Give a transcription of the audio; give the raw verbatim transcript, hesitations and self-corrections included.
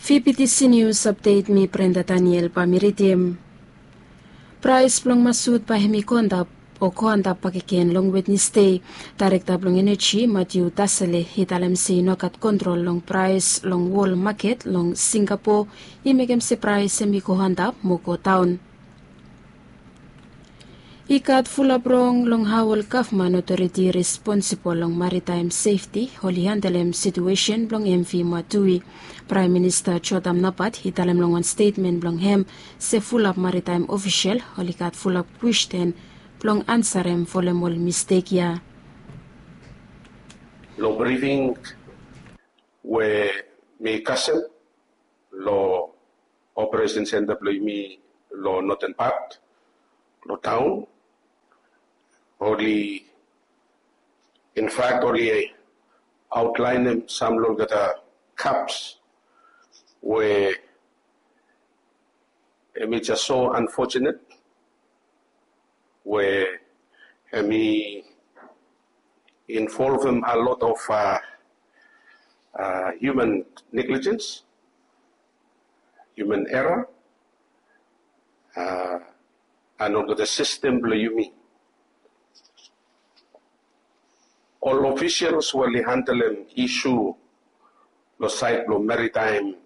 Vptc News Update, mi Brenda Daniel bae mi ridim. Praes blong masut bae hemi go antap o go antap bakegen long Wednesdei. Daerekta blong Eneji, Matthew Tasele, i talem se i no gat kontrol long praes long wol maket long Singapo, i mekem se praes hemi go antap mo go daon. I gat fulap rong long hao ol gavman otoriti responsibol long maritaem sefti oli handelem situesen blong MV Matui. Praem Minista Jotam Napat i talem long wan stetmen blong hem se fulap maritaem ofisel oli gat fulap kwestin blong ansarem folem ol mistek ya. Long brifing we mi kasem long operesen senta blong yumi long noten pat long taon, oli, in fact, oli aotlaenem sam long olgeta kaps we hemi jes so unfortunate we hemi involvem a lot of uh, uh, human negligence, human error, uh, and olgeta sistem blong yumi. Ol officials we oli handelem isu long saed blong maritaem